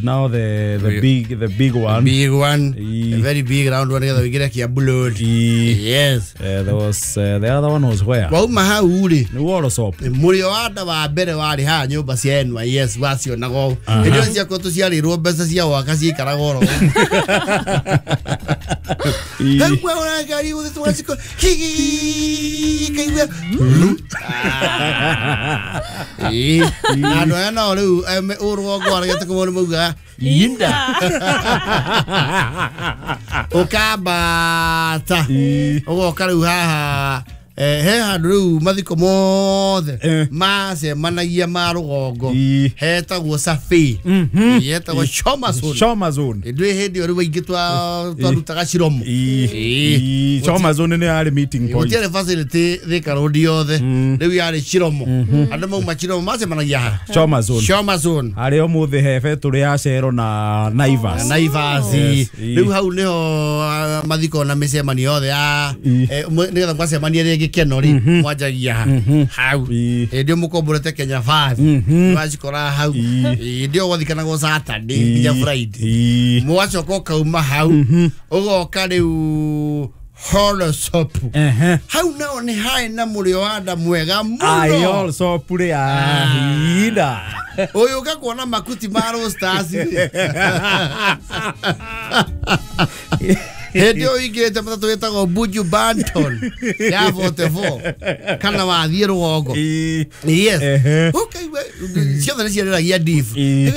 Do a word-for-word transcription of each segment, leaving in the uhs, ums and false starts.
Now the the big the big one. Big one. E. A very big round one nĩgetha ũingĩre Kiambu Road. E. Yes. Uh, there was uh, the other one was where? Wauma hau rĩ, Nĩ Worosop. Mũrĩo wa nda wa mbere warĩ haha nyũmba cia N Y S wacionaga ũũ. Hĩndĩ ĩyo ciakwa tũciarĩrwo mbeca cia gwaka ciikaraga oro ũguo. E. Hau wahũra ngari gũthiĩ tũgaciko kaigua. Ĩĩ. Na andũ aya nao rĩu em, ũrũgongo waregete kũmona maugaga Inda. Ũkambata E. ũgoka rĩu haha eh, he handũ rĩu mathiko mothe Eh. macemanagia ma rũgongo E. hetagwo Safi. Mhm. Hetagwo Choma Zone. Choma Zone. Ndwĩ hĩndĩ ĩyo rĩu aingĩ twa- twarutaga ciromo. E. Ĩĩ. E. Choma Zone nĩ yarĩ meeting point. Gũtiarĩ facility Thika Road yothe, rĩu yarĩ Chiromo, andũ mauma Chiromo macemanagia haha Choma Zone. Choma Zone. Harĩa ũmũthĩ he betũrĩ ya Cero na Naivas. Naivas. Yes. Ĩĩ. Rĩu hau nĩho ah, mathiko na mĩcemanio yothe ya Ĩĩ. eh, mwe- nĩgetha mwacemania rĩngĩ keno rĩ mwanjagia ha hau. Ĩĩ. Hĩndĩ ĩyo mũkomborete Kenya Five mwacikora hau. Ĩĩ. Hĩndĩ ĩyo gwathikanagwo Saturday nginya Friday. Ĩĩ. Mwacoka ũkauma hau ũgoka rĩu Horosop. Ehe. Hau nao nĩ harĩ na mũrĩo wa nda mwega Ai mũno. also pure ahinda. Ũyũ ũgakuona makuti ma Roasters. Hĩndĩ ĩyo ũingĩrĩte matatũ ĩtagwo Buju Banton ya forty-four kana wathiĩ rũgongo. Ĩĩ. Yes. Ehe. Ũkaigua ciothe nĩ ciarĩragia div. Ĩĩ.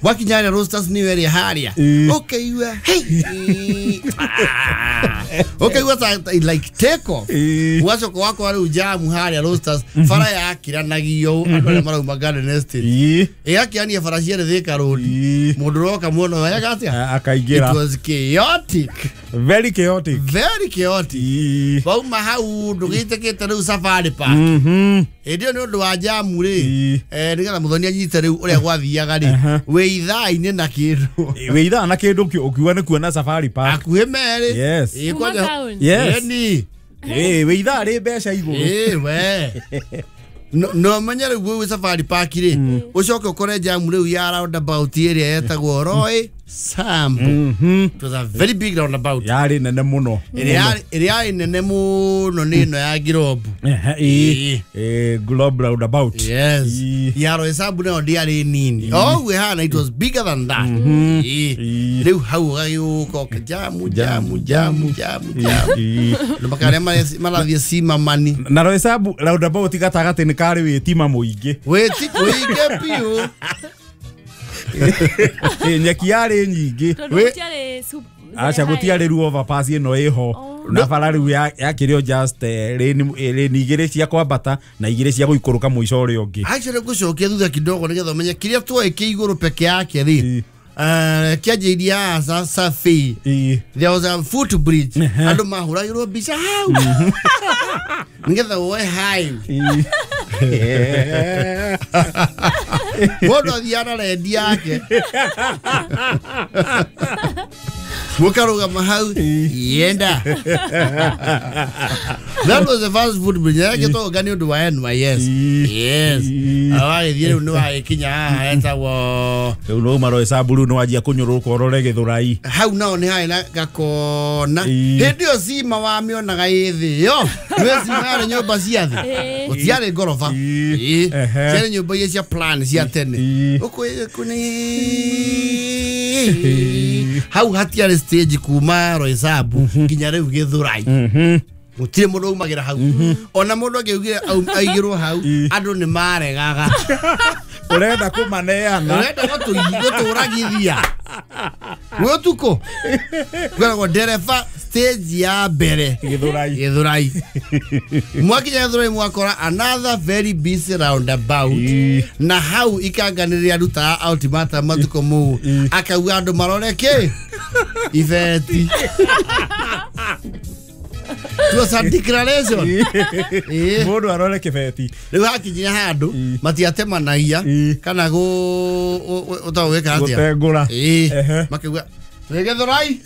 Wakinya harĩa Roasters nĩyo ĩrĩa harĩa Ĩĩ. ũkaigua hey. Ah. Ũkaigua ta ta- like take off. Ĩĩ. Ũgacoka wakora rĩu jamu harĩa Roasters bara yakiranagio andũ arĩa marauma Garden Estate Ĩĩ. ĩgakĩania bara cierĩ Thika Road. Ĩĩ. Mũndũ ũroka muono wega atĩa. A- Akaingĩra. It was chaotic. Very chaotic. Very chaotic. Ĩĩ. Wauma hau ndũgĩtĩkĩte rĩu Safari Park. Mhm. Hĩndĩ ĩyo nĩ ũndũ wa jamu rĩ, Ĩĩ. eh, nĩgetha mũthoni anyite rĩu ũrĩa gwathiaga rĩ, Aha. wĩ ithaa-inĩ na kĩndũ. Wĩ ithaa na kĩndũ kĩ- ũkiuga nĩ kuona Safari Park. Hakuhĩ merĩ. Yes. Ĩĩ, Kuma kwanja- town. Yes. Ĩni. Ĩĩ, wĩ ithaa rĩ mbeca igũrũ. Ĩĩ, we. No no menye rĩu gwĩ Safari Park rĩ, ũcoke ũkore jamu rĩu ya roundabout ĩrĩa yetagwo Roy Sambu. Mhm. It was a very big roundabout. Yarĩ nene mũno. Ĩrĩa yarĩ- ĩrĩa yarĩ nene mũno nĩ ĩno ya Girobu. Ehe, ĩĩ. Ĩĩ, Globe roundabout. Yes. Ĩĩ. Ya Roy Sambu nayo ndĩarĩ nini. O ũguo ĩhana it was bigger than that. Ĩĩ. Ĩĩ. Rĩu hau ũgagĩũka ũka jamu jamu jamu jamu jamu. Ĩĩ. Andũ makarĩa mare- marathiĩ Simamani. Na Roy Sambu roundabout gatagatĩ nĩ karĩ wĩtima mũingĩ. Wĩti wĩingĩ biũ. Ĩĩ, nyeki yarĩ nyingĩ. Tondũ Wĩ- gũtiarĩ sup- Aca gũtiarĩ rĩu overpass ĩno ĩho na bara rĩu ya- yakĩrĩ o just eh, lane eh, lane igĩrĩ cia kwambata na igĩrĩ cia gũikũrũka mũico ũrĩa ũngĩ. Actually ngũcokia thutha kidogo nĩgetha ũmenye kĩrĩa tuoĩ kĩ igũrũ peke yake rĩ. Ĩĩ. Eh, kĩanjĩirie haha Sa- Safi. Ĩĩ. There was a footbridge. Andũ mahũragĩrwo mbica hau. Nĩgetha woe hai. Ĩĩ. Mũndũ athiaga na rendi yake. Mũkarũgama hau yenda. That was the first footbridge. Yagĩtwo nĩ ũndũ wa N Y S. Ĩĩ. Yes. Ĩĩ. Wagĩthiĩ rĩu nĩ wagĩkinya haha hetagwo Rĩu no uma Roy Sambu rĩu nĩ wanjia kũnyũrũrũka ũrore Gĩthũrai. Hau nao nĩ harĩ na gakona. Ĩĩ. Hĩndĩ ĩyo cima wamĩonaga ĩ thĩ yo nĩ cima yarĩ nyũmba cia thĩ. Ĩĩ. Gũtiarĩ ngoroba. Ĩĩ. Ĩĩ. Ehe. Ciarĩ nyũmba iria cia plan cia tene. Ĩĩ. Ũkwĩ- kũnĩ- hau hatiarĩ stage kuma Roy Sambu nginya rĩu Gĩthũrai. Mhm. Gũtirĩ mũndũ aumagĩra hau. Ona mũndũ angĩaugire au- aigĩrwo hau Ĩĩ. andũ nĩ maregaga. Ũrenda kũmaneana. Ũrenda gũtũ- gũtũragithia gwĩ ũtukũ kwĩragwo ndereba stage ya mbere Gĩthũrai. Gĩthũrai. Mwakinya Gĩthũrai mwakora another very busy roundabout. Ĩĩ. Na hau ikanganĩrĩria arutaga ultimatum matukũ mau Ĩĩ. akauga andũ marore kĩ ibeti. It was a declaration. Ĩĩ. Mũndũ arore kĩbeti. Rĩu hakinyire handũ Ĩĩ. matiatemanagia Ĩĩ. kana gũ ũtagwo gwĩka atĩa. Gũtengũra. Ĩĩ. Ehe. Makauga Twĩ Gĩthũrai.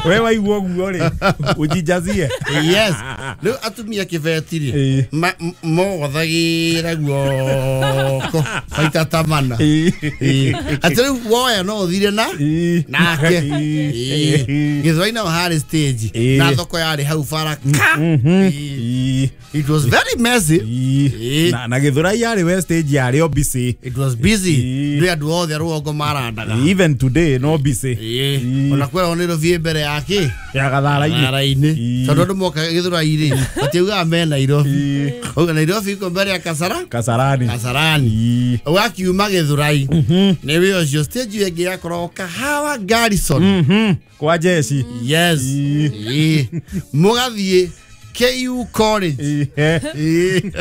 We waigua ũguo rĩ, ũnjijazie. Yes. Rĩu atumia kĩbeti rĩ, Ĩĩ. ma- m- mogothagĩra guoko maita ta mana. Ĩĩ. Ĩĩ. Atĩ rĩu woya no ũthire na Ĩĩ. nake. Ĩĩ. Ĩĩ. Gĩthũrai nao harĩ stage Ĩĩ. na thoko yarĩ hau bara ka. Mhm. Ĩĩ. Ĩĩ. It was very messy. Ĩĩ. Ĩĩ. Na na Gĩthũrai yarĩ we stage yarĩ o busy. It was busy. Ĩĩ. Ndĩ andũ othe a rũgongo marandaga. Even today no busy. Ĩĩ. Ĩĩ. Ona kwĩragwo nĩ Nairobi ĩ mbere ya kĩ? Ya gathara-inĩ. Gathara-inĩ. Ĩĩ. Tondũ andũ moka Gĩthũrai rĩ, matiugaga me Nairobi. Ĩĩ. Auga Nairobi iko mbere ya Kasara? Kasarani. Kasarani. Ĩĩ. Ũgakiuma Gĩthũrai. Nĩ wĩ ũcio stage ĩyo ĩngĩ yakoragwo Kahawa Garrison. Mhm. Kwa jeshi. Yes. Ĩĩ. Ĩĩ. Mũgathiĩ K U College. Ĩĩ. Ĩĩ.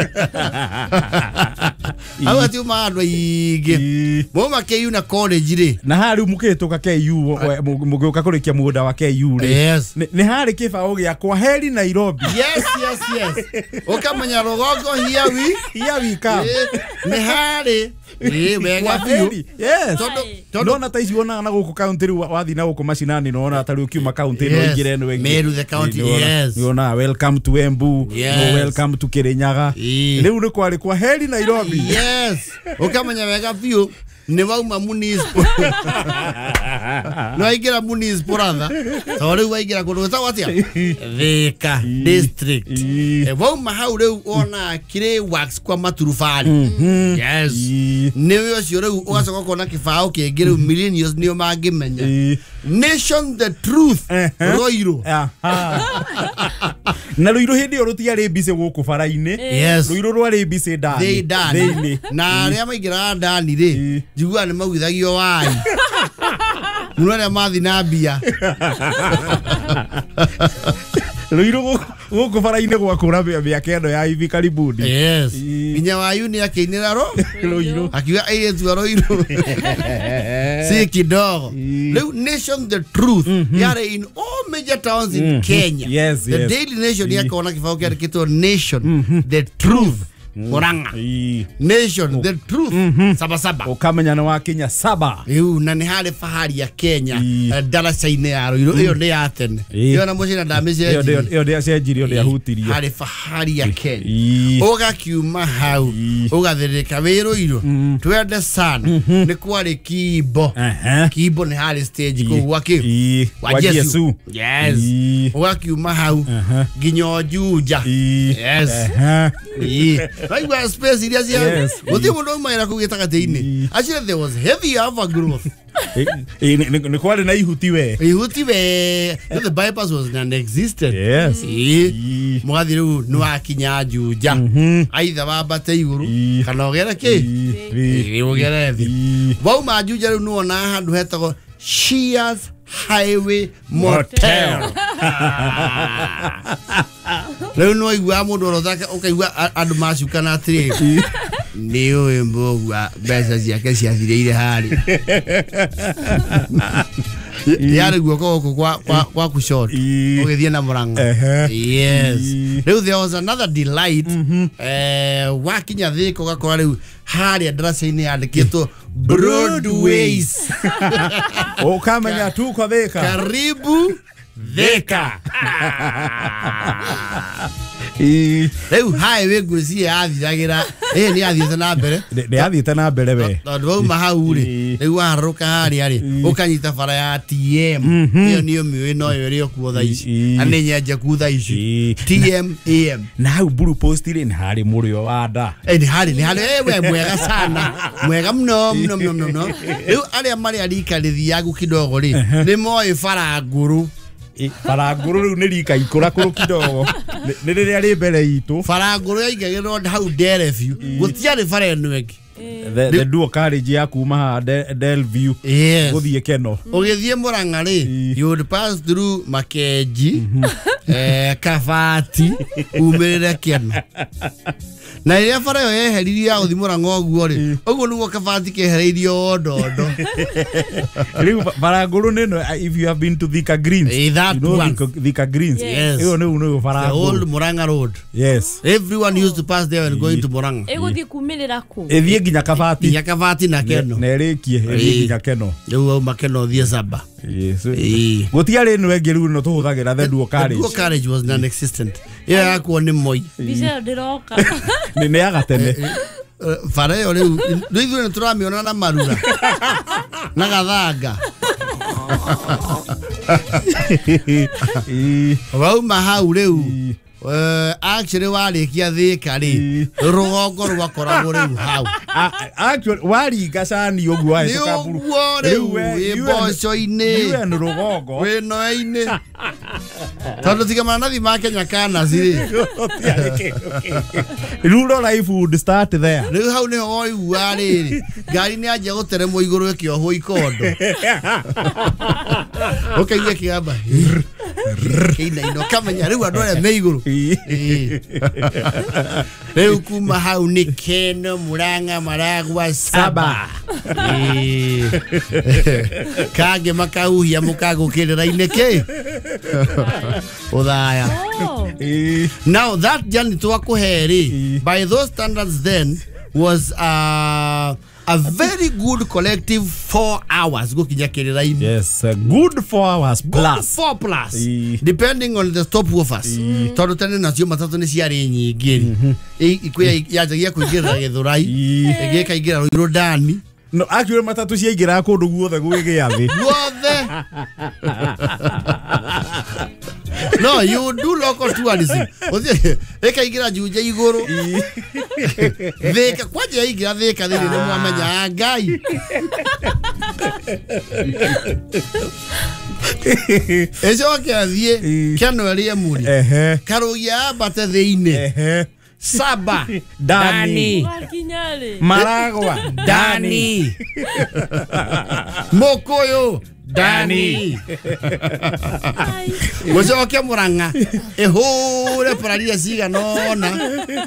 Hau hatiumaga andũ aingĩ. Ĩĩ. Mauma K U na college rĩ. Na haha rĩu mũkĩhĩtũka K U mũgĩũka kũrĩkia mũgũnda wa K U rĩ. Yes. Nĩ nĩ harĩ kĩbaũ gĩa kwa heri Nairobi. Yes, yes, yes. Ũkamenya rũgongo here we Here we come. Ĩĩ, nĩ harĩ. Ĩĩ, wega Kwa biũ. heri. Yes. Tondũ tondũ Ndona ta ici wonaga na gũkũ kaunti rĩu wathiĩ na gũkũ macinani nĩwona ta rĩu ũkiuma kaunti ĩno Yes. ĩingĩre ĩno ĩngĩ. Meru the county, Ĩĩ, nĩwona- yes. nĩwonaga welcome to Embu, Yes. no welcome to Kirinyaga. Ĩĩ. Rĩu nĩ kwarĩ kwa heri Nairobi. Yes. Ũkamenya wega biũ nĩ wauma municipal. Nĩ waingĩra municipal rather. Tondũ rĩu waingĩra kũndũ gwĩtagwo atĩa? Thika district. Ĩĩ. Eh, wauma hau rĩu wona Clay Works kwa maturubari. Yes. Ĩĩ. Nĩ wĩ ũcio rĩu ũgacoka ũkona kĩbaũ kĩngĩ rĩu millennials nĩo mangĩmenya. Ĩĩ. Nation the truth. Ehe. Ruiru. Aha. Na Ruiru hĩndĩ ĩyo rũtiarĩ busy gũkũ bara-inĩ. Yes. Ruiru rwarĩ busy ndani. Thĩ ndani. Thĩinĩ. Na arĩa maingĩraga ndani rĩ, Ĩĩ. njiguaga nĩ maugithagio wai. Mũno arĩa mathi na mbia. Ruiru gũkũ- gũkũ bara-inĩ gwakũra mĩaka ĩno ya hivi karibuni. Yes. Ĩĩ. Nginya wayu nĩ akĩinĩra ro Ruiru. akiuga airĩtu a Ruiru si kidogo. Ĩĩ. Rĩu Nation the truth yarĩ in all major towns in Kenya. Yes, The yes. Daily Nation Ĩĩ. yakorwo na kĩbaũ kĩandĩkĩtwo Nation the truth Murang'a. Ĩĩ. Nation the truth Sabasaba. Ũkamenya nĩ wakinya saba. Rĩu na nĩ harĩ fahari ya Kenya Ĩĩ. eh, ndaraca-inĩ ya Ruiru ĩyo nĩ ya tene. Ĩĩ. Ĩyo na mũcina Ĩyo ndamĩcenjirie. ndĩa- ĩyo ndĩacenjirie ndĩahutirie. Harĩ fahari ya Kenya. Ĩĩ. Ũgakiuma hau Ĩĩ. ũgathĩrĩka wĩ Ruiru twende sana nĩ kwarĩ Kimbo. Ehe. Kimbo nĩ harĩ stage kũu gwa kĩ? Ĩĩ. Kwa Kwa Jesu. Jesu. Yes. Ĩĩ. Ũgakiuma hau Aha. nginya Juja. Ĩĩ. Yes. Ehe. Ĩĩ. Waigua space iria cia Yes. gũtirĩ mũndũ aumagĩra kũu gĩtagatĩ-inĩ. Ĩĩ. Actually there was heavy overgrowth. Ĩĩ, ĩĩ, nĩ- nĩ nĩ kwarĩ na ihuti we. Ihuti we no, the bypass was non-existent. Yes. Ĩĩ. Ĩĩ. Mũgathiĩ rĩu nĩ wakinya Juja. Aitha wambate igũrũ Ĩĩ. kana ũgere kĩ? Ĩĩ. Ĩĩ, ũgere thĩ. Ĩĩ. Wauma Juja rĩu nĩwona handũ hetagwo Shears Highway Motel. Rĩu nĩwaiguaga mũndũ orotha ũkaigua a- andũ macukana atĩrĩrĩ nĩ ũĩ mbũgua mbeca ciake ciathirĩire harĩa. Yarĩ guoko gũkũ kwa kwa kwa kushoto Ĩĩ. ũgĩthiĩ na Murang'a. Ehe. Yes. Ĩĩ. Rĩu there was another delight eh wakinya Thika ũgakora rĩu harĩa ndaraca-inĩ yandĩkĩtwo Broadways. Ũkamenya tuko Thika. Karibu Thika. Ĩĩ. Rĩu highway ngwĩciria yathiragĩra ĩĩ nĩ yathiĩte na mbere Nĩ nĩ yathiĩte na mbere we. tondũ wauma hau rĩ Ĩĩ. rĩu waharũrũka harĩa rĩ ũkanyita bara ya T M ĩyo nĩyo mĩũĩ noyo ĩrĩ o kuo thaa ici Ĩĩ. na nĩ nyenjeku thaa ici Ĩĩ. T M A M. Na hau Blue Post rĩ nĩ harĩ mũrĩo wa nda. Eh, nĩ harĩ nĩ harĩ eh, we mwega sana mwega mũno mũno mũno mũno rĩu arĩa marĩ a rika rĩthiagu kidogo rĩ nĩ moĩ bara ngũrũ. Ĩ, bara ngũrũ rĩu nĩ rika ikũrakũrũ kidogo. Nĩ nĩ rĩrĩa rĩ mbere itũ. Bara ngũrũ yaingagĩrwo hau ndere biũ gũtiarĩ bara ĩno ĩngĩ. The the dual carriage ya kuma haha De- Delview Yes. gũthiĩ Keno. Ũgĩthiĩ Murang'a rĩ Ĩĩ. you would pass through Makenji eh, Kabati umĩrĩre Keno. Na rĩrĩa bara ĩyo yeheririo ya gũthiĩ Murang'a ũguo rĩ ũguo nĩguo Kabati kehereirio ndondo. Rĩu ba- bara ngũrũ nĩ ĩno if you have been to Thika Greens. Eh, that you know one. Thika, Thika Greens. Yes. Ĩyo nĩu nĩyo bara The old ngũrũ. Murang'a road. Yes. Everyone used to pass there when going to Murang'a. Ĩgũthiĩ kumĩrĩra kũ? Ĩthiĩ nginya Kabati nginya Kabati na Keno na ĩrĩkie ĩthiĩ nginya Keno rĩu wauma Keno ũthiĩ Saba. Gũtiarĩ ĩno ĩngĩ rĩu ĩno tũhũthagĩra the dual carriage. The dual carriage was non-existent. Ĩyo yakuo nĩ Moi. Mbica ĩyo ndĩroka. Nĩ ya gatene. Bara ĩyo rĩu rĩu ithuĩ nĩ tũramĩona na marura na gathanga. Wauma hau rĩu actually warĩkia Thika rĩ rũgongo rwakoragwo rĩu hau. Actually waringa cani ũguo wahĩtũka mburu ũguo rĩu wĩ mboco-inĩ wĩ rũgongo wĩ noe-inĩ tondũ tiga maranathi ma Kenya Kanaci rĩ rural life would start there. Rĩu hau nĩho woigua rĩrĩ ngari nĩ yanjia gũteremwo igũrũ ĩkĩohwo ikondo ũkaigua kĩgamba kĩinaina ũkamenya rĩu andũ arĩa me igũrũ. Rĩu kuma hau nĩ Keno Murang'a Maragwa Saba kangĩ makahuhia mũkagũkĩrĩra-inĩ kĩ ũthaya. Now that journey twakũhe rĩ by those standards then was uh, a very good collective four hours gũkinya kĩrĩra-inĩ. Yes, a good four hours plus. Good four plus. E. Depending on the stop offers. Tondũ tene nacio matatũ nĩ ciarĩ nyingĩ rĩ. Ikwĩ yanjagia kũingĩrĩra Gĩthũrai, ĩngĩ ĩkaingĩra Ruiru Ndani. No, actually matatũ ciaingĩraga kũndũ guothe gwĩ gĩathĩ. Guothe. No, you do local tourism. Ĩkaingĩra Juja igũrũ. Thika kwanja yaingĩra Thika thĩinĩ nĩ mwamenya Ngai. Ĩcoke athiĩ Keno ĩrĩe muri. Karũgia ambate thĩinĩ. Saba Dani Maragwa Dani Mokoyo Dani Mũcoke Murang'a ĩhũre pararia cigana ũna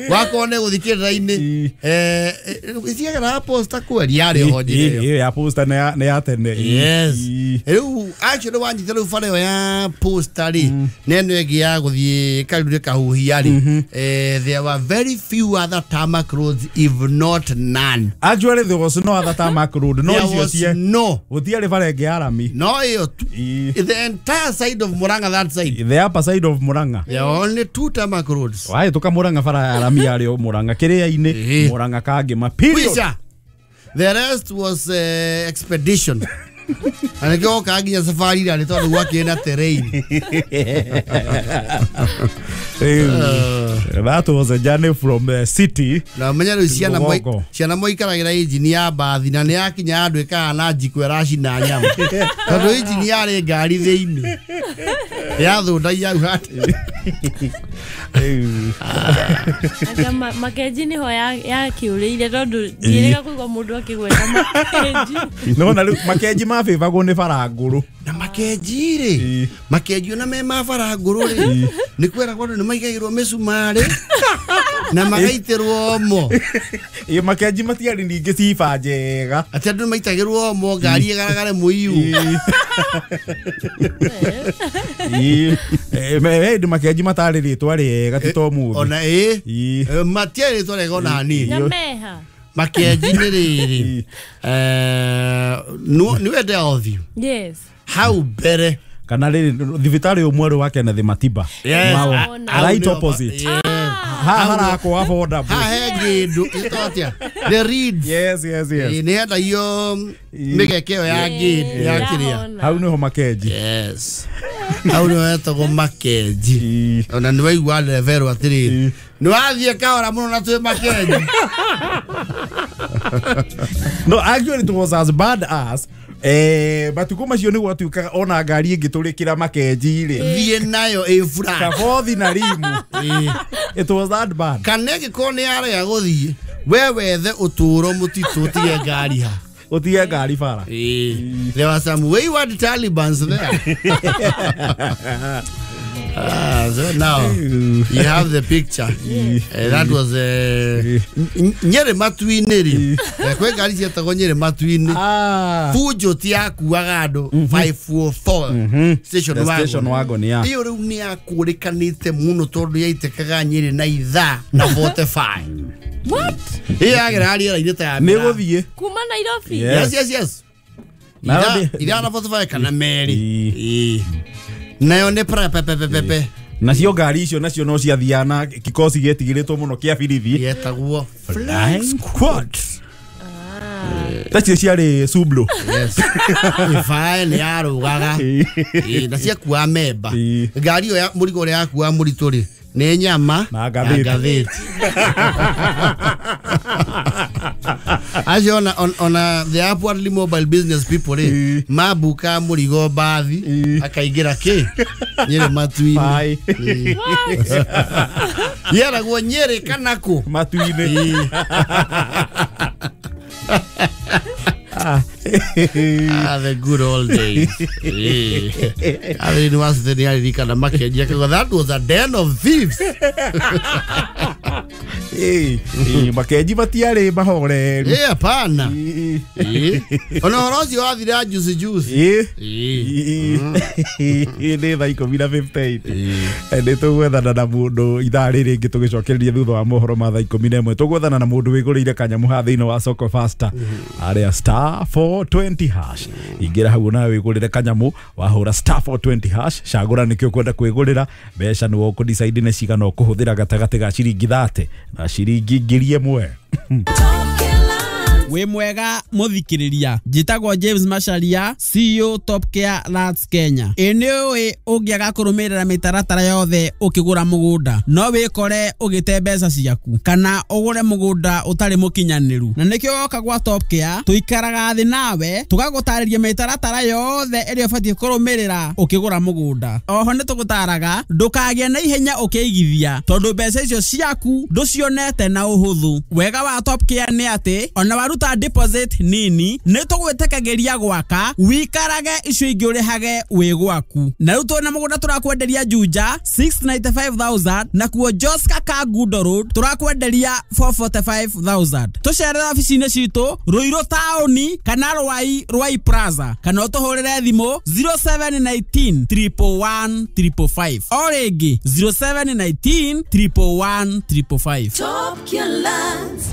wakorwo nĩ gũthiĩ kĩrĩra-inĩ ĩciagera posta kweri yarĩ ho njĩra ĩyo ya posta nĩ ya tene. Yes. Rĩu actually wanyita rĩu bara ĩyo ya posta rĩ na ĩno ĩngĩ ya gũthiĩ Karure Kahuhia rĩ there were very few other tarmac roads if not none. Actually there was no other tarmac road. No icio cie no gũtiarĩ bara ĩngĩ ya rami. No ĩyo the entire side of Murang'a that side. The upper side of Murang'a. There are only two tarmac roads. Wahĩtũka Murang'a bara ya rami yarĩ o Murang'a kĩrĩa-inĩ Murang'a Kangĩma period. The rest was uh, expedition. Na nĩkĩo wokaga nginya safari rarĩ tondũ gwakĩrĩ na terrain. That was a journey from the city. Na menya rĩu ciana ciana moikaragĩra injini ya mbathi na nĩ yakinya andũ ĩkahana njiko ĩracina nyama tondũ injini yarĩ ngari thĩinĩ yathũndagia hau hatĩ. Anga Makenji nĩho yakĩũrĩire tondũ ndiĩrĩga kũigua mũndũ akĩgweta Makenji. Nĩwona rĩu Makenji mabĩbagwo nĩ bara ngũrũ. Na Makenji rĩ Makenji ona me ma bara ngũrũ rĩ nĩ kweragwo andũ nĩ maigagĩrwo mĩcumarĩ na magaitĩrwo omo. Ĩ Makenji matiarĩ ningĩ ciba njega atĩ andũ maitagĩrwo omo ngari ĩgaragare mũiyũ. Ĩ hĩndĩ Makenji matarĩ rĩtwa rĩega ti ta ũmũthĩ. Ona ĩ matiarĩ rĩtwa rĩega ona hanini. Na meha Makenji nĩ rĩrĩ nĩ wende othiũ. Yes. Hau mbere kana rĩrĩ thibitarĩ ũmwe wa Kenneth Matiba. Right opposite. Ha harakwo affordable. Ha he ngĩndũ ĩtagwo atĩa? The Reeds. Yes, yes, yes. Nĩ hendagio mĩgeke ĩyo ya ngĩndũ ya kĩrĩa. Hau nĩho Makenji. Yes. Hau nĩho hetagwo Makenji. Ona nĩ waigua ndereberwo atĩrĩrĩ nĩ wathiĩ kahora mũno na twĩ Makenji. No, actually it was as bad as eh matukũ macio nĩ gwatuĩkaga ona ngari ĩngĩtũrĩkĩra Makenji rĩ thiĩ nayo ĩ flat kabothi na rimu. It was that bad. Kana ĩngĩkorwo nĩ yarega gũthiĩ we wethe ũtũũro mũtitũ ũtige ngari ha ũtige ngari bara. There were some wayward Talibans there. Ah, so now you have the picture. Uh, that was uh, Nyeri Matuinĩ rĩ. Kwĩ ngari cietagwo Nyeri Matuinĩ. Fujo ti yakuaga andũ five four four station wagon. Station wagon, yeah. Iyo rĩu nĩ yakũrĩkanĩte mũno tondũ yaitĩkaga Nyeri na ithaa na forty-five. What? Iyo yagera rĩera-inĩ ta ya Nĩ gũthiĩ. Kuma Nairobi. Yes, yes, yes. Ithaa na forty-five kana merĩ. Nayo nĩ pra pe pe pe pe. Nacio ngari icio nacio no ciathiaga na kikosi gĩetigĩrĩtwo mũno kĩa birithi yetagwo Flying Squad. Tacio ciarĩ Sublo. Yes. Ifae nĩ yarũgaga. Na ciakua memba. Ngari ĩyo ya mũrigo ũrĩa yakua mũritũ rĩ nĩ nyama na ngathĩti. Acio ona ona the upwardly mobile business people rĩ mabuka mũrigo mbathi akaingĩra kĩ Nyeri Matuinĩ. Yeragwo Nyeri kana kũ Matuinĩ. Ah, the good old days. I didn't want to that was a den of thieves. Eh, makenji matiarĩ mahoreru. Eh, hapana. Eh. Ona ũhoro ũcio wathira juice juice. Eh. Nĩ thaa ikũmi na fifty-eight. Nĩ tũgwethana na mũndũ ithaa rĩrĩ rĩngĩ tũgĩcokereria thutha wa mohoro ma thaa ikũmi na ĩmwe. Tũgwethana na mũndũ wĩgũrĩire kanyamũ haha thĩinĩ wa Soko Faster. Arĩa star four twenty hash. Ingĩra hau nawe wĩgũrĩre kanyamũ wahũra star four twenty hash. Cagũra nĩkĩo ũkwenda kwĩgũrĩra. Mbeca nĩwe ũkũdecide nĩ cigana ũkũhũthĩra gatagatĩ ga ciringi thate na ciringi ngiri ĩmwe. Wĩ mwega mũthikĩrĩria, njĩtagwo James Macharia, C E O Top Care Lands Kenya. Ĩ nĩ ũĩ ũngĩaga kũrũmĩrĩra mĩtaratara yothe ũkĩgũra mũgũnda no wĩkore ũgĩte mbeca ciaku kana ũgũre mũgũnda ũtarĩ mũkinyanĩru, na nĩkĩo woka gwa Top Care tũikaraga thĩ nawe tũgagũtarĩria mĩtaratara yothe ĩrĩa ũbatiĩ kũrũmĩrĩra ũkĩgũra mũgũnda. Oho nĩ tũgũtaraga ndũkagĩe na ihenya ũkĩigithia tondũ mbeca icio ciaku ndũcionete na ũhũthũ. Wega wa Top Care nĩ atĩ ona waruta deposit nini nĩ tũgwĩtĩkagĩria gwaka wikarage icio ingĩ ũrĩhage wĩ gwaku. Na rĩu twĩna mũgũnda tũrakwenderia Juja six ninety-five thousand na kuo Joska Kangundo Road tũrakwenderia four forty-five thousand. Tũcerere obici-inĩ citũ Ruiru taũni kana Rwai Rwai Plaza kana ũtũhũrĩre thimũ zero seven one nine triple one triple five. O rĩngĩ zero seven one nine triple one triple five. Top Care Lands.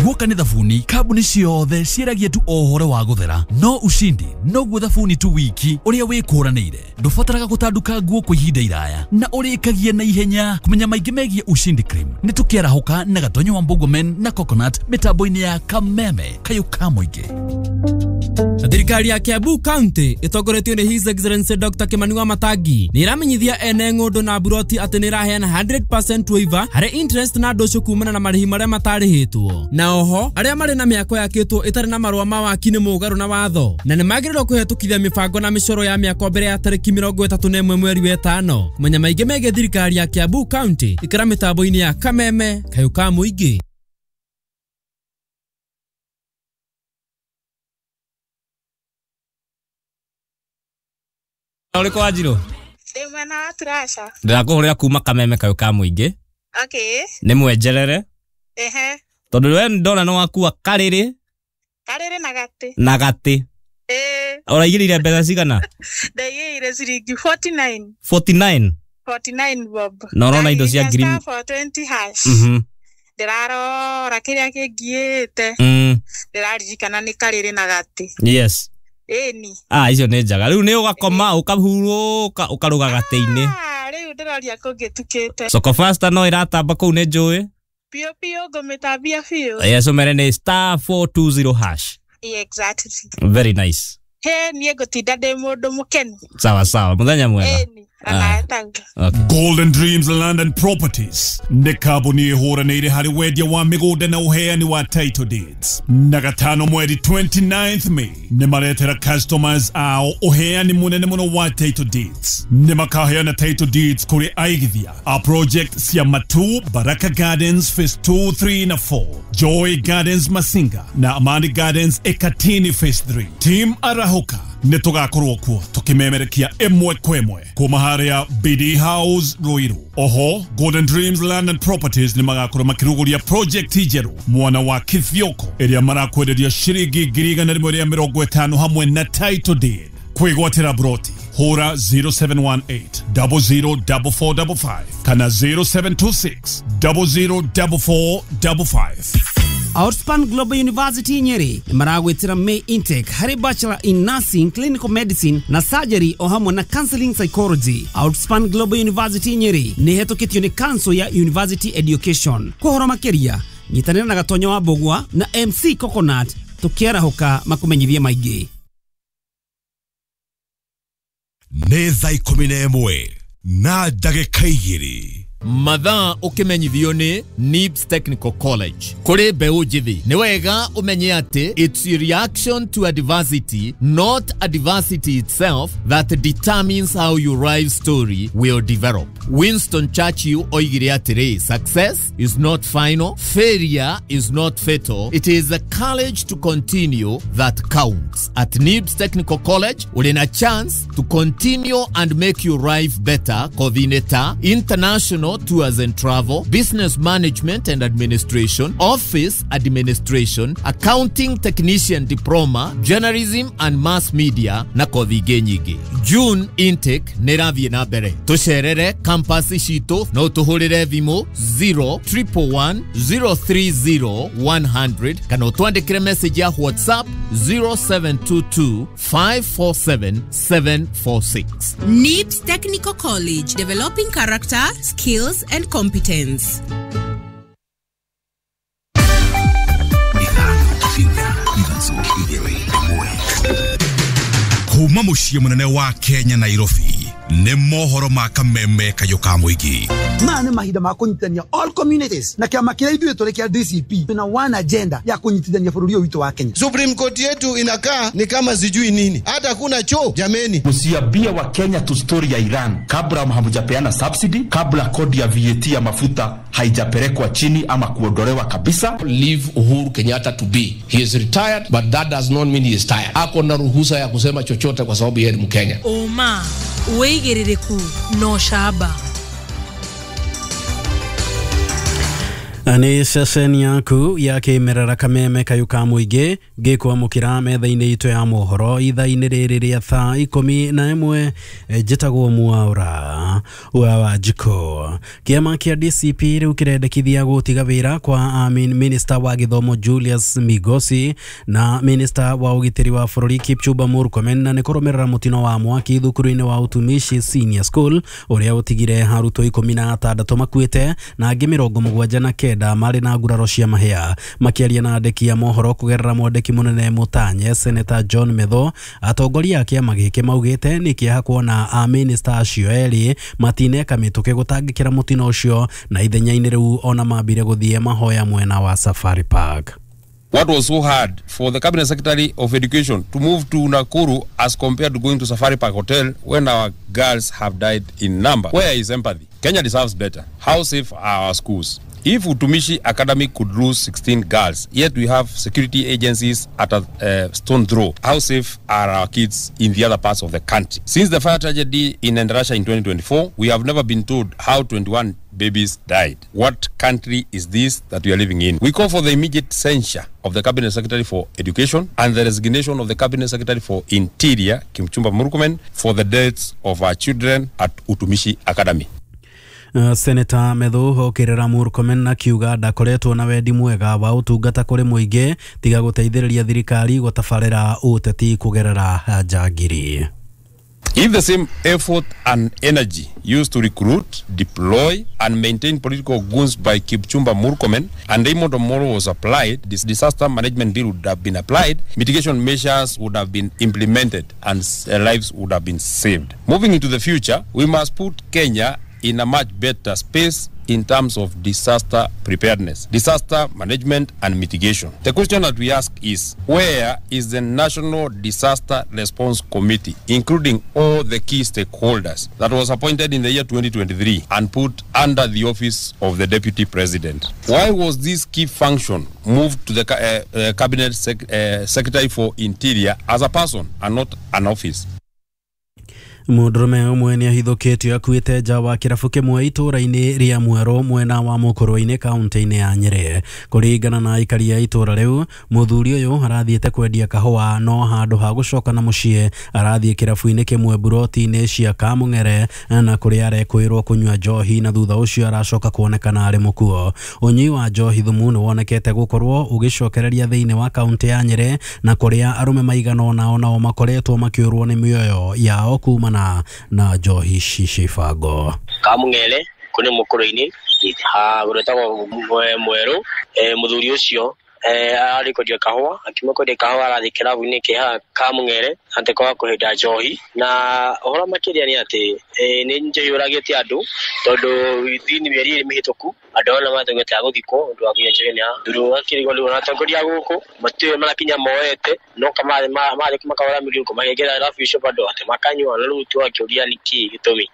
Guoka nĩ thabuni kambuni ciothe ciĩragia tu o ũhoro wa gũthera no ushindi noguo thabuni tu wiki ũrĩa wĩkũranĩire ndũbataraga gũtanduka nguo kwa ihinda iraya na ũrĩkagia na ihenya. Kũmenya maingĩ megiĩ Ushindi Cream nĩ tũkĩarahũka na Gatonyo wa Mbogomen na Coconut mĩtambo-inĩ ya Kameme kayũ ka mũingĩ. Thirikari ya Kiambu County ĩtongoretio nĩ His Excellency Doctor Kimani Wamatangi nĩ ĩramenyithia ene ng'ũndũ na buroti atĩ nĩ ĩraheana hundred percent waiver harĩ interest na ndũcũ kumana na marĩhi marĩa matarĩhĩtwo. Na oho arĩa marĩ na mĩako yakĩtwo ĩtarĩ na marũa ma waki nĩ mũgarũ na watho na nĩ magĩrĩirwo kũhetũkithia mĩbango na mĩcoro ya mĩako mbere ya tarĩki mĩrongo ĩtatũ na ĩmwe mweri wa ĩtano. Kũmenya maingĩ megiĩ thirikari ya Kiambu County ikĩra mĩtambo-inĩ ya Kameme kayũ ka mũingĩ. Ũrĩkũ Wanjirũ? Ndĩ mwena wa Turasha. Ndĩrakũhũrĩra kuma Kameme kayũ ka mũingĩ. Okay. Nĩ mwenjerere. Ehe. Tondũ we ndona nĩ wakua karĩrĩ. Karĩrĩ na gatĩ. Na gatĩ. Ĩĩ. Ũraigĩrĩire mbeca cigana? Ndaigĩrĩire ciringi forty-nine. forty-nine? forty-nine bob. Na ũrona indo cia ngiri Star four twenty hash. Mhm. Ndĩrarora kĩrĩa kĩngiĩte. Mm. Ndĩraririkana nĩ karĩrĩ na gatĩ. Yes. Ĩni. Ah, icio nĩ njega. Rĩu nĩ ũgakoma ũkahurũka ũkarũga gatĩ-inĩ. Ah, rĩu ndĩroria kũngĩtukĩte. Soko Faster no ĩratamba kũu nĩ njũĩ. Biũ biũ ngũmĩtambia biũ. Yes, ũmere nĩ star four two zero hash. Yeah, exactly. Very nice. He, niĩ ngũtinda ndĩ mũndũ mũkenu. Sawa sawa, mũthenya mwega. Ĩni. Ah. Okay. Golden Dreams Land and Properties nĩ kambuni ĩhũranĩire harĩ wendia wa mĩgũnda na ũheani wa title deeds. Na gatano mweri twenty-ninth May nĩ maretera customers ao ũheani mũnene mũno wa title deeds. Nĩ makaheana title deeds kũrĩ aigithia a project cia Matu, Baraka Gardens Phase two, three na four, Joy Gardens Masinga na Amani Gardens Ekatini Phase three. Team Arahoka Nĩ tũgakorwo kuo tũkĩmemerekia ĩmwe kwa ĩmwe kuma harĩa B D House Ruiru. Oho Golden Dreams Land and Properties nĩ magakorwo makĩrugũria project njerũ mwana wa Kithioko ĩrĩa marakwenderia ciringi ngiri igana rĩmwe rĩa mĩrongo ĩtano hamwe na title deed. Kwĩgwatĩra broti hũra zero seven one eight zero zero four four five five kana zero seven two six zero zero four four five five. Outspan Global University Nyeri maragwitira May intake harĩ Bachelor in Nursing, Clinical Medicine na Surgery o hamwe na Counseling Psychology. Outspan Global University Nyeri nĩ hetũkĩtio nĩ Council ya University Education. Kũhoro makĩria nyitanĩra na Gatonyo wa Mbũgua na M C Coconut tũkĩarahũka makũmenyithie maingĩ. Nĩ thaa ikũmi na ĩmwe na ndagĩka igĩrĩ. Mathaa ũkĩmenyithio nĩ Nibs Technical College. Kũrĩ mbeũ njĩthĩ nĩ wega ũmenye atĩ it's a reaction to adversity, not adversity itself, that determines how your life story will develop. Winston Churchill oigire atĩrĩ, success is not final, failure is not fatal, it is the courage to continue that counts. At Nibs Technical College ũrĩ na chance to continue and make your life better. Coordinator, international tours and travel, business management and administration, office administration, accounting technician diploma, journalism and mass media na kothi ingĩ nyingĩ. June intake nĩ ĩrathiĩ na mbere. Tũcerere campus citũ no tũhũrĩre thimũ zero triple one zero three zero one hundred kana ũtwandĩkĩre message ya WhatsApp zero seven two two five four seven seven four six. Nibs Technical College, developing character, skills and competence. Kuma mũciĩ mũnene wa Kenya Nairobi nĩ mohoro ma kameme kayũ ka mũingĩ. Maya nĩ mahinda ma kũnyitithania all communities na kĩama kĩrĩa ithuĩ tũrĩ kĩa D C P tuna one agenda ya kũnyitithania bũrũri ũyũ witũ wa Kenya. Supreme Court yetu inakaa ni kama sijui nini, hata kuna choo jameni. Msiambie wa Kenya tu story ya Iran kabla hamjapeana subsidy, kabla kodi ya V A T ya mafuta haijapelekwa chini ama kuondolewa kabisa. Leave Uhuru Kenyatta to be. He is retired but that does not mean he is tired. Ako na ruhusa ya kusema chochote kwa sababu yeye ni Mkenya. Oma wĩigĩrĩrĩku no camba. Nĩ ceceni yaku ya kĩmerera kameme kayũ ka mũingĩ ngĩkwamũkĩra metha-inĩ itũ ya mohoro ithaa-inĩ rĩrĩ rĩa thaa ikũmi na ĩmwe. Njĩtagwo Mwaura wa Wanjikũ. Kĩama kĩa D C P rĩu kĩrendekithia gũtiga wĩra kwa Minister wa gĩthomo Julius Migosi na Minister wa ũgitĩri wa bũrũri Kipchumba Murkomen na nĩ kũrũmĩrĩra mũtino wa mwaki thukuru-inĩ wa Utumishi Senior School ũrĩa ũtigire arutwo ikũmi na atandatũ makuĩte na angĩ mĩrongo mũgwanja na kenda marĩ na nguraro cia mahĩa. Makĩaria na andĩki a mohoro kũgerera mwandĩki mũnene Mũtanye Senator John Metho, atongoria a kĩama gĩkĩ maugĩte nĩ kĩeha kuona a minister acio erĩ matineka mĩtũkĩ gũtangĩkĩra mũtino ũcio na ithenya-inĩ rĩu ona mambire gũthiĩ mahoya mwena wa Safari Park. What was so hard for the Cabinet Secretary of Education to move to Nakuru as compared to going to Safari Park Hotel when our girls have died in number? Where is empathy? Kenya deserves better. How safe are our schools? If Utumishi Academy could lose sixteen girls, yet we have security agencies at a uh, stone throw, how safe are our kids in the other parts of the country? Since the fire tragedy in Endarasha in twenty twenty-four, we have never been told how twenty-one babies died. What country is this that we are living in? We call for the immediate censure of the Cabinet Secretary for Education and the resignation of the Cabinet Secretary for Interior, Kipchumba Murkomen, for the deaths of our children at Utumishi Academy. Uh, Senator Methu okirera Murkomen na kiuga ndakoretwo na wendi mwega wa utungata kũrĩ mũingĩ tiga gũteithĩrĩria thirikari gũtabarĩra ũteti kũgerera njangiri. If the same effort and energy used to recruit, deploy, and maintain political goons by Kipchumba Murkomen and Raymond Omolo was applied, this disaster management bill would have been applied, mitigation measures would have been implemented, and lives would have been saved. Moving into the future, we must put Kenya in a much better space in terms of disaster preparedness, disaster management and mitigation. The question that we ask is, where is the National Disaster Response Committee, including all the key stakeholders, that was appointed in the year twenty twenty-three and put under the office of the Deputy President? Why was this key function moved to the uh, uh, Cabinet Sec- uh, Secretary for Interior as a person and not an office? Mũndũrũme ũmwe nĩ ahithũkĩtio akuĩte nja wa kĩrabu kĩmwe itũũra-inĩ rĩa Mwerũ mwena wa Mũkũrwe-inĩ kaunti-inĩ ya Nyĩrĩ. Kũringana na aikari a itũũra rĩu, mũthuri ũyũ arathiĩte kwendia kahũa no handũ ha gũcoka na mũciĩ arathiĩ kĩrabu-inĩ kĩmwe buroti-inĩ cia Kamũng'ere na kũrĩa arekwĩrwo kũnyua njohi na thutha ũcio aracoka kuonekana arĩ mũkuo. Ũnyui wa njohi thumu nĩ wonekete gũkorwo ũgĩcokereria thĩinĩ wa kaunti ya Nyĩrĩ na kũrĩa arũme maigana ũna onao makoretwo makĩũrwo nĩ mĩoyo yao kuma na na njohi cibango. Kamũng'ere kũrĩ Mũkũrwe-inĩ ha gwĩtagwo Mwerũ, mũthuri ũcio arĩ kwendia kahũa, akiuma kwendia kahũa arathiĩ kĩrabu-inĩ kĩ haha Kamũng'ere atĩ wa kũhĩnda njohi, na ũhoro makĩria nĩ atĩ nĩ njohi yũragĩte andũ tondũ within mĩeri ĩrĩ mĩhĩtũku andũ ona matũngĩte a gũthikwo ũndũ wa kũnyua njohi nĩ thuru akĩrigwo rĩu ona atongoria a gũkũ matirĩ marakinya moete no kamarĩ marĩ makahũra mĩrungo makĩingĩra irabu icio bado atĩ makanyua na rĩu twakĩũria nĩkĩ gĩtũmi.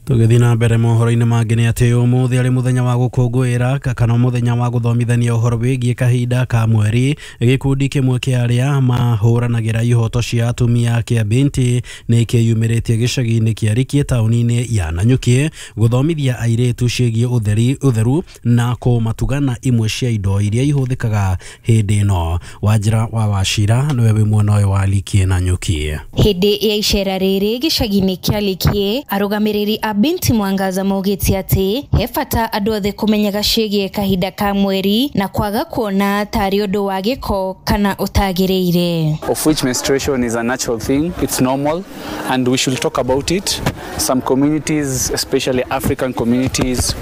Tũgĩthiĩ na mbere mohoro-inĩ mangĩ nĩ atĩ ũmũthĩ arĩ mũthenya wa gũkũngũĩra kana mũthenya wa gũthomithania ũhoro wĩgiĩ kahinda ka mweri, gĩkundi kĩmwe kĩa arĩa mahũranagĩra ihoto cia atumia kĩa Binti nĩ kĩyumĩrĩtie gĩcagi-inĩ kĩa Rikie taũni-inĩ ya Nanyuki gũthomithia airĩtu ciĩgiĩ ũtheri ũtheru na kũmatugana imwe cia indo iria ihũthĩkaga hĩndĩ ĩno. Wanjĩra wa Wachira nĩwe wĩ mwena ũyũ wa Likie Nanyuki. Hĩndĩ ya icera rĩrĩ gĩcagi-inĩ kĩa Likie, arũgamĩrĩri a Binti Mwangaza maugĩte atĩ he bata andũ othe kũmenyaga ciĩgiĩ kahinda ka mweri na kwaga kuona tarĩ ũndũ wa gĩko kana ũtagĩrĩire. Of which menstruation is a natural thing, it's normal and we should talk about it. Some communities, especially African communities,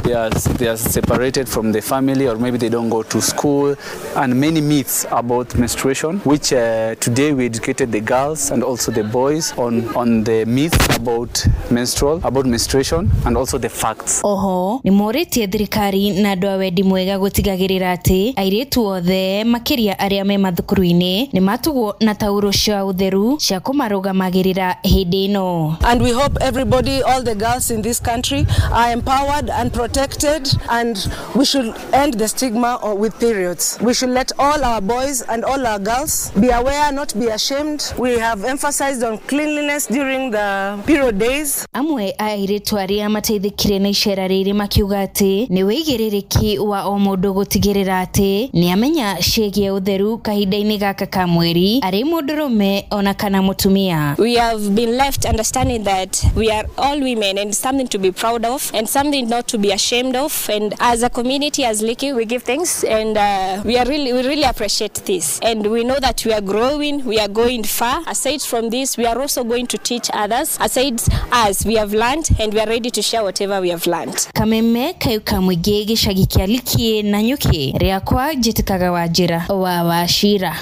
they are, they are separated from the family or maybe they don't go to school, and many myths about menstruation, which uh, today we educated the girls and also the boys on, on the myths about menstrual, about menstruation and also the facts. Oho, nĩ morĩtie thirikari na andũ a wendi mwega gũtigagĩrĩra atĩ airĩtu othe makĩria arĩa me mathukuru-inĩ nĩ matugwo na tauro cia ũtheru cia kũmarũgamagĩrĩra hĩndĩ ĩno. And we hope everybody, all the girls in this country are empowered and protected, and we should end the stigma with periods. We should let all our boys and all our girls be aware, not be ashamed. We have emphasized on cleanliness during the period days. Amwe airĩtu arĩa mateithĩkire na icera rĩrĩ makiuga atĩ nĩ wĩigĩrĩrĩki wa o mũndũ gũtigĩrĩra atĩ nĩ amenya ciĩgiĩ ũtheru kahinda-inĩ gaka ka mweri arĩ mũndũrũme ona kana mũtumia. We have been left understanding that we are all women and something to be proud of and something not to be ashamed of, and as a community, as Liki, we give thanks and uh, we are really we really appreciate this, and we know that we are growing, we are going far. Aside from this, we are also going to teach others. Aside us, we have learned and we are ready to share whatever we have learned. Kameme kayuka mwige gĩcagi kĩa Likie Nanyuki rĩakwa njĩtĩkaga Wanjĩra wa Wachira.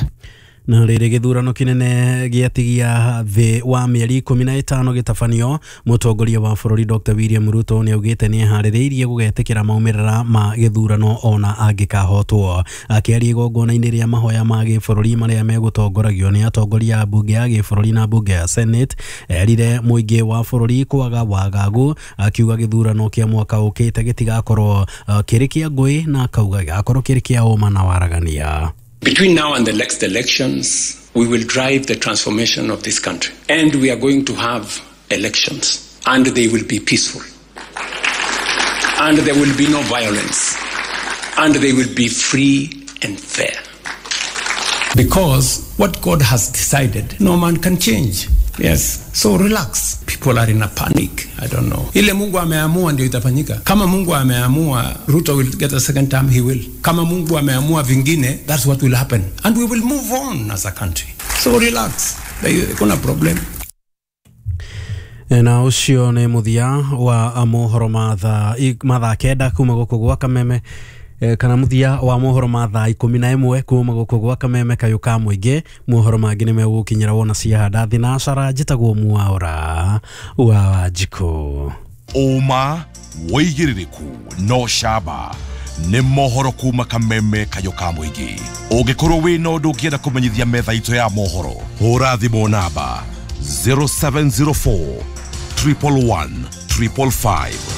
Na rĩrĩ gĩthurano kĩnene gĩatigia thĩ wa mĩeri ikũmi na ĩtano gĩtabanio, mũtongoria wa bũrũri Doctor William Ruto nĩ augĩte nĩ eharĩrĩirie gũgetĩkĩra maumĩrĩra ma gĩthurano ona angĩkahotwo. Akĩaria igongona-inĩ rĩa mahoya ma gĩbũrũri marĩa megũtongoragio nĩ atongoria a mbunge ya gĩbũrũri na mbunge ya Senate, erire mũingĩ wa bũrũri kwaga wagagu, akiuga gĩthurano kĩa mwaka ũkĩte gĩtigakorwo kĩrĩ kĩa ngũĩ na akauga gĩgakorwo kĩrĩ kĩa ũma na waragania. Between now and the next elections, we will drive the transformation of this country. And we are going to have elections. And they will be peaceful. And there will be no violence. And they will be free and fair. Because what God has decided, no man can change. Yes. So relax. People are in a panic. I don't know. Ile Mungu ameamua ndio itafanyika. Kama Mungu ameamua Ruto will get a second term, he will. Kama Mungu ameamua vingine, that's what will happen. And we will move on as a country. So relax. Kuna problem. Na ucio nĩ mũthia wa mohoro mathaa mathaa kenda kuma gũkũ gwa Kameme. eh, kana muthia wa mohoro ma thaa ikumi na ĩmwe kuma gũkũ gwa Kameme Kayũ ka Mũingĩ. Mohoro mangĩ nĩ megũgũkinyĩra wona ciahanda thinacara. Njĩtagwo Mwaura wa Wanjikũ. Ũma wĩigĩrĩrĩku no camba nĩ mohoro kuma Kameme Kayũ ka Mũingĩ. Ũngĩkorwo wĩna ũndũ ũngĩenda kũmenyithia metha itũ ya mohoro, hũra thimũ namba zero seven zero four triple one triple five.